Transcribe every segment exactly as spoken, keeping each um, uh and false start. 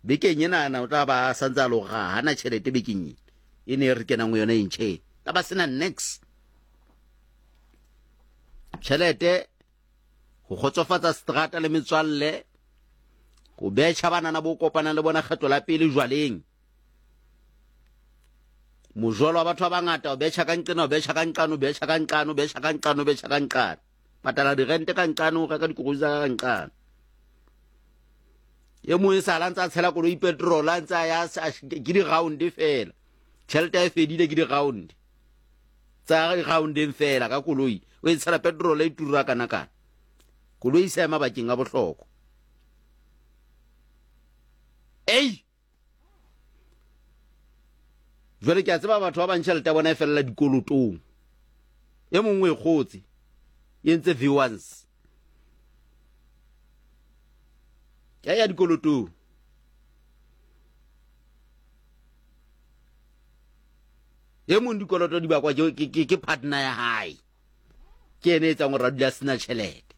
Bekeng enana o tla ba a santse a lo ga hana tšhelete bekeng e e ne e re kenang go yona e ntšhe tla ba sena nix tšhelete go kgotsofatsa strata le metswalle go betšha banana bo kopanang le bona kgetlo la pele jwaleng mojolo wa batho ba bangata o betšha ka nqena o betšha ka nqane o betšha ka nqane o betšha ka nqane o betšha ka nqane patala dirente ka nqane o reka dikoroi tsa ka nqane e mongwe sa la ntse a tshela koloi petrol a ntse a ya ke di-round fela tšhelete e fedile ke di-round tsa di-roundeng fela ka koloi o e tshela petrol e tura kana kana koloi e sa ya mabakeng a bohlokwa ei jwale ke a tseba batho ba bang tšhelete ya bona e felela dikolotong e mongwe e kgotse e entse v once ya ya dikolotong e mong dikoloto di bakwa ke, ke, ke partner ya hae ke ene e etsang gore a dula a sena tšhelete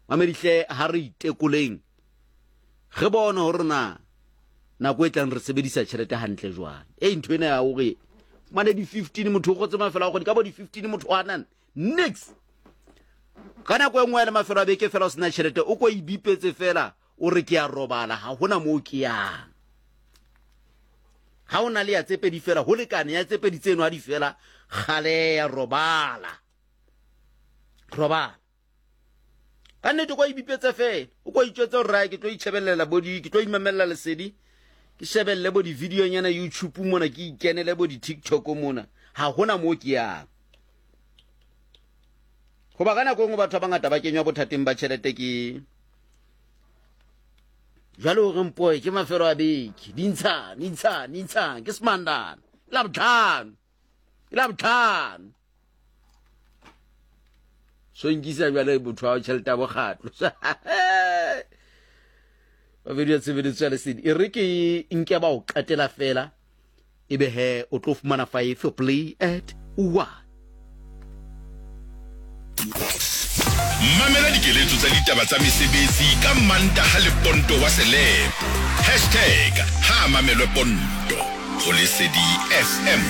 mamedihle ha re itekoleng re bone hore na nako e tlang re sebedisa tšhelete hantle jwang e ntho ena ya hore mane di-fifteen motho o kgotse mafelo a kgwedi ka bo di-fifteen motho wa nang nix ka nako e nngwe ya le mafelo a beke fela o sena tšhelete o ko ibipetse fela o re ke a robala ga gona moo ke yang ga o na le ya tse pedi fela go lekane ya tse pedi tseno a di fela gale ya robala robala ka nnete kwa ibipetse fela o ko itjwetse gore rae ke tlo itšhebelela bo di ke tlo imamelela lesedi ke shebelele bo di-videonyana youtube mona ke ikenele bo di-tiktok mona ga gona moo ke yang goba ka nako e nngwe batho ba bangata ba kenywa bothateng ba tšhelete ke jwale o re mpoe ke mafelo a beke dintshane intshane intshane ke semandana ke la botlhano ke la botlhano so nkisa jwale motho wa tšhelete ya bokgatlo babedi ya tshebeletso ya lesedi e re ke nke ba o qetela fela e be he o tlo fumana five play at one Mamela dikeletso tsa ditaba tsa mesebetsi ka Mantaha le Ponto wa Selepo. Hashtag ha mamelwe Ponto. Ho Lesedi F M.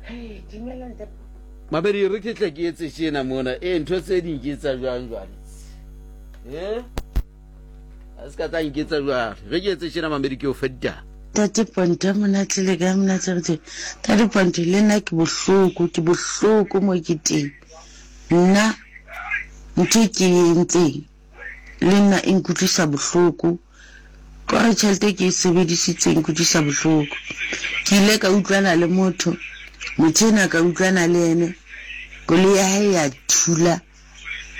Hey, dumela ntate. Mabedi re ke tle ke etse tjena mona. Eh ntho tse ding ke etsa jwang jwale? Eh? A se ka tla nketsa jwale. Re ke etse tjena Mamedi ke o fa ditaba. Tate Ponto monate le kae monate re teng. Tate Ponto le nna ke bohloko, ke bohloko mo ke teng. Nna ntho e ke e entseng le nna e nkutlwisa bohloko. Kore tjhelete e ke e sebedisitseng e nkutlwisa bohloko. Ke ile ka utlwana le motho, motho ena ka utlwana le ene, koloi ya hae ya thula,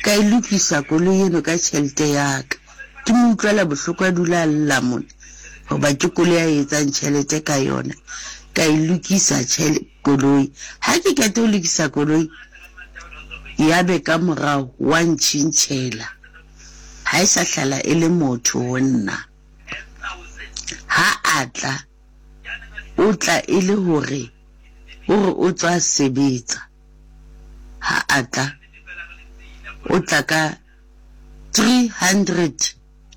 ka e lokisa koloi eno ka tjhelete ya ka. Ke mo utlwela bohloko a dula a lla mona. Hoba ke koloi a etsang tjhelete ka yona, ka e lokisa koloi. Ha ke qeta ho lokisa koloi, ya be ka morao wa ntjhintjhela. Ha e sa hlala e le motho ho nna. Ha a tla, o tla e le hore o re o tswa sebetsa. Ha a tla, o tla ka three hundred,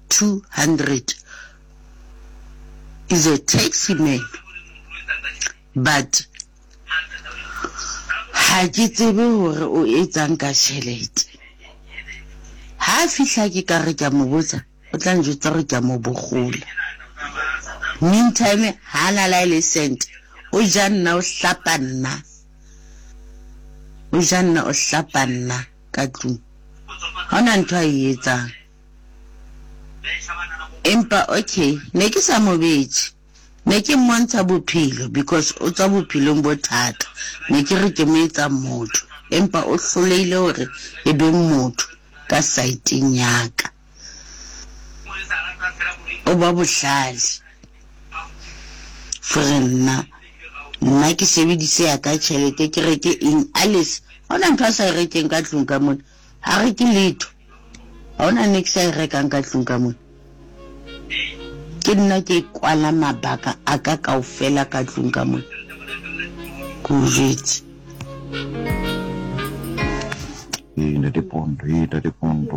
two hundred. Is a taxi man, but ha ke tsebe hore o etsang ka tjhelete. Ha fihla ke ka re ke a mo botsa, o tla njwetsa hore ke a mo bogola. Meantime, ha na la le cent, o ja nna o hlapa nna. O ja nna o hlapa nna ka tlung. Ha hona ntho a e etsang. Empa okay, ne ke sa mo betše. Ne ke mmontsha bophelo because o tswa bophelong bo thata. Ne ke re ke mo etsa motho, empa o hlolehile hore e be motho ka saeteng ya ka. O ba bohlale. Fore nna, nna ke sebedise ya ka tjhelete ke reke eng Alice. Ha hona ntho a sa e rekeng ka tlung ka mona. Ha reke letho. Ha hona niks a e rekang ka tlung ka mona. Ke nna ke kwala mabaka a ka kaofela ka tlung ka mona. Ke o jwetse. Ee, ntate Ponto, ee, ntate Ponto.